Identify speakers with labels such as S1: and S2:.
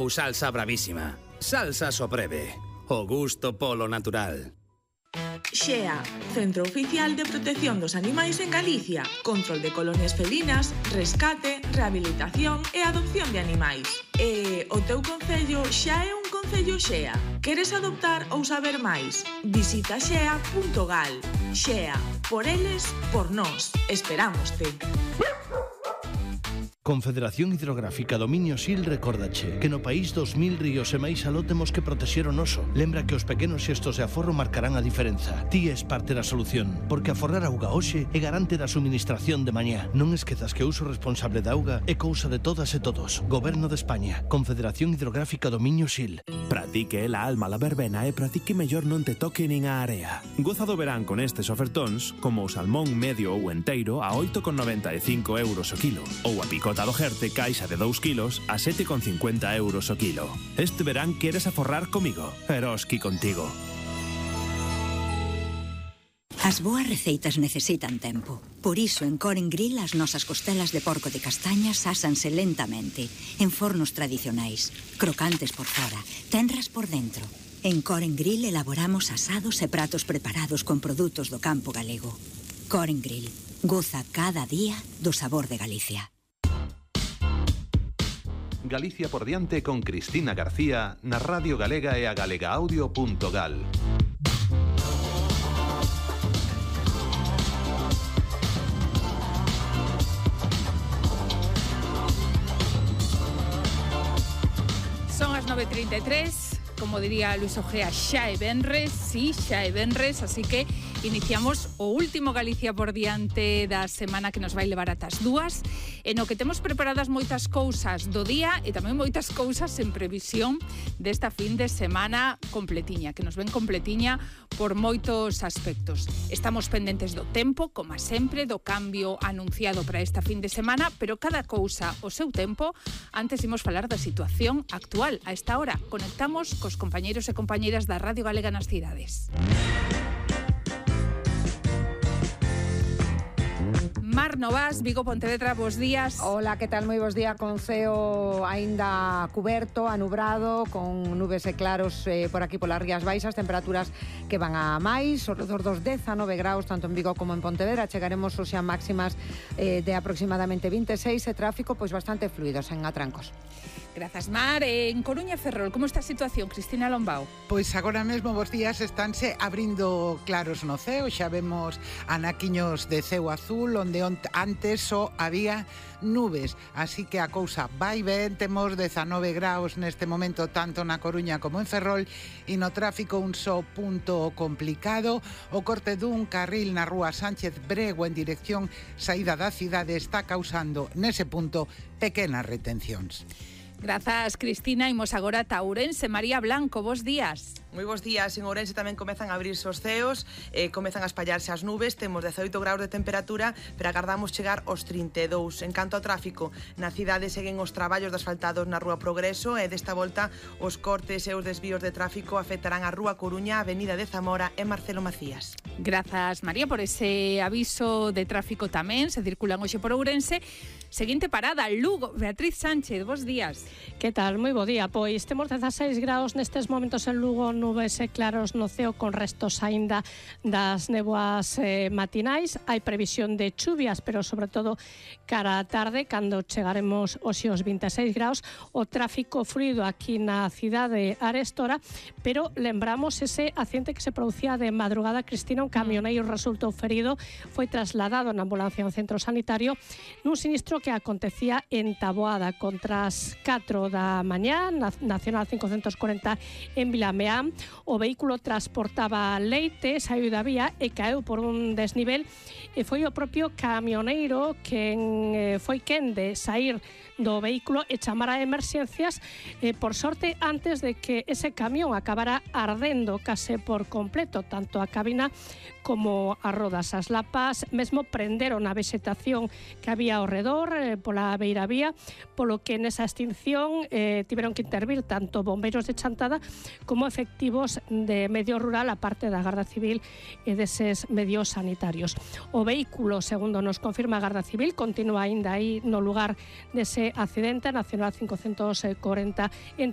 S1: ou salsa bravísima. Salsa Sopreve. O gusto polo natural.
S2: XEA, Centro Oficial de Protección dos Animais en Galicia. Control de colonias felinas, rescate, rehabilitación e adopción de animais. E o teu concello xa é un concello XEA. Queres adoptar ou saber máis? Visita xea.gal. XEA, por eles, por nós. Esperámoste.
S3: Confederación Hidrográfica Dominio Sil recórdache que no país 2000 ríos e máis aló temos que protexer o noso. Lembra que os pequenos xestos de aforro marcarán a diferenza. Ti és parte da solución, porque aforrar auga hoxe é garante da suministración de mañá. Non esquezas que o uso responsable da auga é cousa de todas e todos. Goberno de España, Confederación Hidrográfica Dominio Sil.
S4: Pratique la alma la verbena e pratique mellor non te toque nin a area. Goza do verán con estes ofertóns, como o salmón medio ou enteiro a 8,95 euros o kilo, ou a picota do Jerte caixa de 2 kilos a 7,50 euros o kilo. Este verán queres aforrar comigo, Eroski contigo.
S5: As boas receitas necesitan tempo. Por iso, en Coren Grill, as nosas costelas de porco de castañas ásanse lentamente, en fornos tradicionais, crocantes por fora, tenras por dentro. En Coren Grill elaboramos asados e pratos preparados con produtos do campo galego. Coren Grill. Goza cada día do sabor de Galicia.
S6: Galicia por diante con Cristina García na Radio Galega e a galegaaudio.gal.
S7: Son as 9:33, como diría Luis Ojea, xa é venres, sí, xa é venres, así que iniciamos o último Galicia por diante da semana que nos vai levar ata as 2, e no que temos preparadas moitas cousas do día e tamén moitas cousas en previsión desta fin de semana completiña, que nos ven completiña por moitos aspectos. Estamos pendentes do tempo, como sempre, do cambio anunciado para esta fin de semana, pero cada cousa o seu tempo. Antes imos falar da situación actual. A esta hora conectamos cos compañeiros e compañeiras da Radio Galega nas cidades. Mar Novas, Vigo, Pontevedra, bos días.
S8: Hola, que tal? Moi bos días, con ceo aínda cuberto, anubrado, con nubes e claros por aquí polas Rías Baixas, temperaturas que van a máis, ao redor dos 19 graus, tanto en Vigo como en Pontevedra. Chegaremos hoxe a máximas de aproximadamente 26 e tráfico pois bastante fluidos en atrancos.
S7: Grazas, Mar. En Coruña e Ferrol, como está a situación? Cristina Lombao.
S9: Pois agora mesmo vos días estánse abrindo claros no ceo, xa vemos anaquiños de ceo azul, onde antes só había nubes, así que a cousa vai ben. Temos 19 graus neste momento tanto na Coruña como en Ferrol, e no tráfico un só punto complicado. O corte dun carril na rúa Sánchez Brego en dirección saída da cidade está causando nese punto pequenas retencións.
S7: Grazas, Cristina. Imos agora a Ourense. María Blanco, bos días.
S10: Moi bos días. En Ourense tamén comezan a abrirse os ceos, comezan a espallarse as nubes. Temos 18 graus de temperatura, pero agardamos chegar aos 32. En canto ao tráfico, na cidade seguen os traballos de asfaltados na Rúa Progreso, e desta volta os cortes e os desvíos de tráfico afectarán a Rúa Coruña, Avenida de Zamora e Marcelo Macías.
S7: Grazas, María, por ese aviso de tráfico tamén. Se circulan hoxe por Ourense. Seguinte parada, Lugo. Beatriz Sánchez, bos días.
S11: Que tal? Moi bo día. Pois temos 16 graus nestes momentos en Lugo, nubes e claros no ceo con restos aínda das néboas matinais. Hai previsión de chuvias, pero sobre todo cara á tarde, cando chegaremos hoxe aos 26 graus. O tráfico fluido aquí na cidade arestora, pero lembramos ese accidente que se producía de madrugada, Cristina. Un camioneiro resultou ferido, foi trasladado na ambulancia ao centro sanitario nun sinistro que acontecía en Taboada contra as 4 da mañá, Nacional 540 en Vilameán. O vehículo transportaba leite, saiu da vía e caeu por un desnivel, e foi o propio camioneiro quen foi quen de sair do vehículo e chamar a emerxencias, por sorte, antes de que ese camión acabara ardendo case por completo, tanto a cabina como as rodas. As lapas mesmo prenderon a vexetación que había ao redor pola beira vía, polo que nesa extinción tiveron que intervir tanto bombeiros de Chantada como efectivos de medio rural, a parte da Garda Civil e deses medios sanitarios. O vehículo, segundo nos confirma a Garda Civil, continúa aínda aí no lugar dese accidente, Nacional 540 en